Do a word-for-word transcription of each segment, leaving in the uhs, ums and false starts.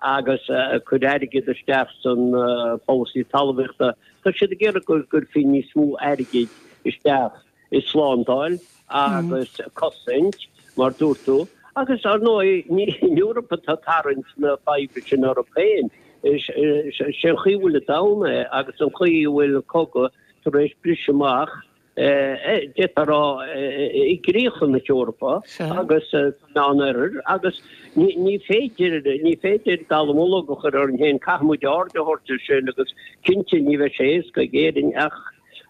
agus ag cur airgead isteach san polasaí talmhaíochta, tá siad ag iarraidh go gcuirfí níos mó airgid isteach i slándáil agus cosaint, mar dúirt tú, agus ar ndóigh ní an Eoraip atá ag tarraingt na faidhbe sin orthu féin, is é an chaoi a bhfuil an domhan é agus an chaoi a bhfuil an cogadh tar éis briseadh amach, d'fhéadfá a rá, i gcríocha na hEorpa agus sa Meánoirthear agus ní féidir, ní féidir dallamullóg a chur orainn féin, caithfidh muid aird a thabhairt air sin agus cinnte ní bheidh sé éasca ag Éirinn ach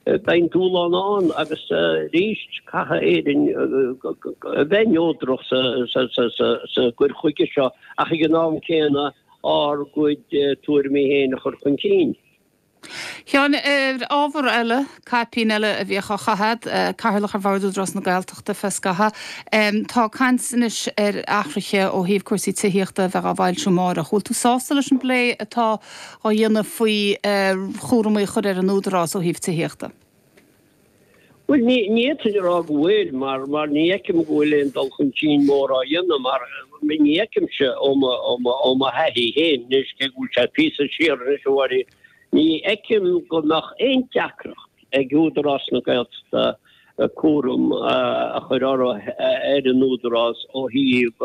beidh an dúshlán ann agus arís caithfidh Éirinn a bheith neodrach sa gcur chuige seo ach ag an am céanna ár gcuid tuairimí féin a chur chun cinn. Sheáin, ar ábhar eile, caipín eile a bhíodh á chaitheamh agat, Cathaoirleach ar Bhord Údarás na Gaeltachta feadh scathaimh. Tá caint anois ar athruithe ó thaobh cúrsaí tithíochta a bheith á bhfoilsiú amárach. Bhfuil tú sásta leis an bplé atá á dhéanamh faoi chúramaí a chur ar an Údarás ó thaobh tithíochta? Bhuel, ní fhéadfainn a rá go bhfuil, mar mar ní fheicim go bhfuil aon dul chun cinn mór á dhéanamh, mar ní fheicimse ó mo ó mo ó mo thaithí féin anois, cé go bhfuil sé píosa siar anois, a Mháirín, ní fheicim go mbeadh aon deacracht ag Údarás na Gaeltachta cúram a chur orthu ar an Údarás ó thaobh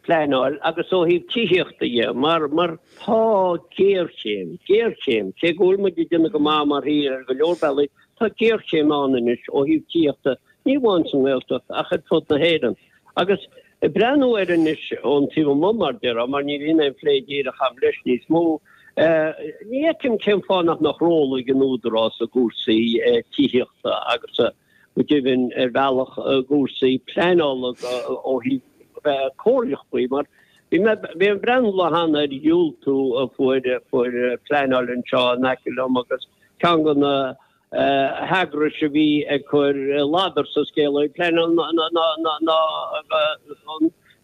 pleanáil agus ó thaobh tithíochta dhe, mar mar tá géarchéim, géarchéim, cé go bhfuil muid ag déanamh go maith mar thír ar go leor bealaí, tá géarchéim ann anois ó thaobh tithíochta, ní amháin sa nGaeltacht ach ar fud na hÉireann. Agus ag breathnú air anois ón taobh amuigh, mar déarfá, mar ní bhíonn aon phlé díreach agam leis níos mó, ní fheicim cén fáth nach mbeadh ról ag an Údarás i gcúrsaí tithíochta agus go deimhin ar bhealach i gcúrsaí pleanála ó thaobh bheith comhairleach faoi, mar bhí mé bhí mé ag breathnú lá cheana ar dhiúltú a fuair fuair pleanáil anseo in aice liom agus ceann de na heagrais a bhí ag cur ladar sa scéal ó pleanáil ná ná ná ná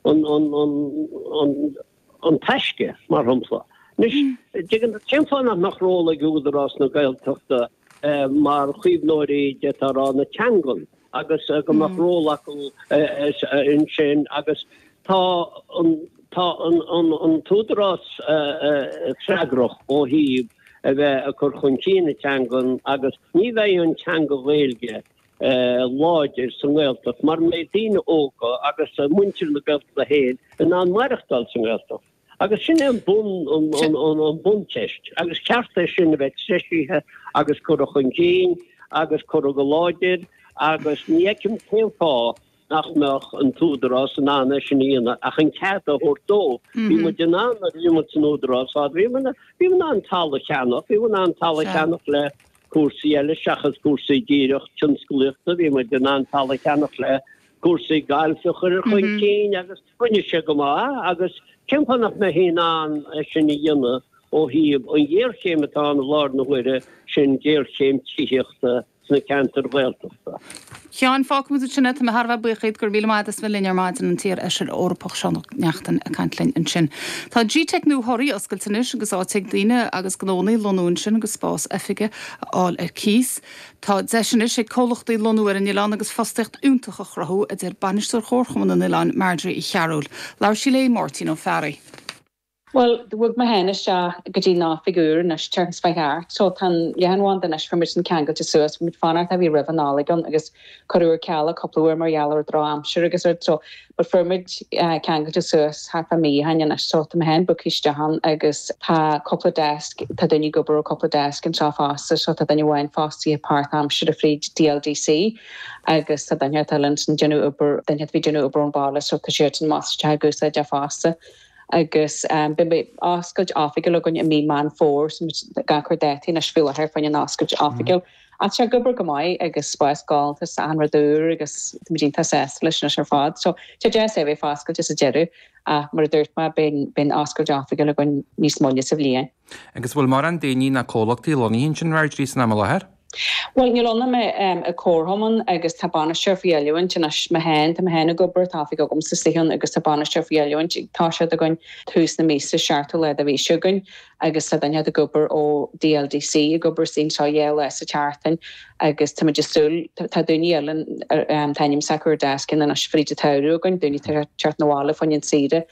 an an an an an taisce, mar shampla. Anois, tuigeann tú, cén fáth nach mbeadh ról ag Údarás na Gaeltachta mar chaomhnóirí, d'fhéadfá a rá, na teangan agus go mbeadh ról acu ansin agus tá an tá an an an t-údarás freagrach ó thaobh a bheith ag cur chun cinn na teangan agus ní bheidh an teanga Ghaeilge láidir sa nGaeltacht mura mbeidh daoine óga agus muintir na Gaeltachta féin in ann maireachtáil sa nGaeltacht. Agus sin é an bun, an buncheist. Agus ceart é sin a bheith treisithe agus curtha chun cinn agus curtha go láidir agus ní fheicim cén fáth nach mbeadh an t-údarás in ann é sin a dhéanamh ach an cead a thabhairt dó. Bhí muid in ann nuair a bhí muid san údarás fad, bhí muid in ann talamh a cheannach, bhí muid in ann talamh a cheannach le cúrsaí eile seachas cúrsaí díreach tionsclaíochta, bhí muid in ann talamh a cheannach le cúrsaí gailf a chur chun cinn agus rinne sé go maith agus cén fáth nach mbeifí in ann é sin a dhéanamh ó thaobh an ghéarchéim atá ann i láthair na huaire, sin géarchéim tithíochta sna ceantair Ghaeltachta. Sheáin, fágfaimid ansin é, tá mé thar a bheith buíoch díot, go raibh míle maith agat as bheith linn ar maidin, an t-iar-fheisire Eorpach Seán Ó Neachtain ag caint linn ansin. Tá Gteic nua Thoraí oscailte anois agus áit ag daoine agus gnónna lonnú ansin agus spás oifige a fháil ar cíos. Tá deis anois ag comhlachtaí lonnú ar an oileán agus fostaíocht fhiúntach a chruthú, a deir Bainisteoir Chomharchumann an Oileáin, Marjorie Uí Chearúil. Labhair sí le Máirtín Ó Fearraigh. Bhuel, bhog mé féin isteach go dtí an oifig úr anois, tseachtain seo chuaigh thart. So tá an leathanbhanda anois, fuair muid sin ceangailte suas, bhí muid fanacht a bhí roimh an Nollaig ann agus cuireadh ar ceal é cúpla uair mar gheall ar drochaimsir agus rud. So, but fuair muid ceangailte suas thart fá mí ó shin anois. So tá mé féin bogtha isteach ann agus tá cúpla desk, tá duine ag obair ó cúpla desk anseo fosta. So tá duine amháin fostaithe páirtaimseartha fríd DLDC agus tá duine eile ansin ag déanamh obair, duine a bhí ag déanamh obair ón bhaile so tá siad san amach ag úsáid é fosta. Agus beidh oscailt oifigiúil againn i mí Meán Fómhair, so muid ag cur dátaí anois faoi láthair fá choinne an oscailt oifigiúil. Ach tá sé ag obair go maith agus spás galánta is achan rud úr agus táimid iontach sásta leis anois ar fad. So tá deas é bheith foscailte sa deireadh ach mar a dúirt mé beidh an oscailt oifigiúil againn níos moille sa bhliain. Agus bhfuil mórán daoine ná comhlachtaí lonnaithe ansin, Marjorie, san am i láthair? Bhuel, níl ionam i comharchumann agus tá bainisteoir faoi oiliúint anois mé féin, tá mé féin ag obair, tá oifig agamsa istigh ann agus tá bainisteoir faoi oiliúint ag toiseacht againn tús na míosa, seachtú lá de mhí seo chugainn agus tá duine ag obair ó DLDC ag obair anseo dhá lá sa tseachtain agus tá muid ag súil, tá daoine eile, tá ainm s'acu ar deasc anois fríd an tsamhradh againn, daoine atá ag teacht 'na bhaile fá choinne an saoire.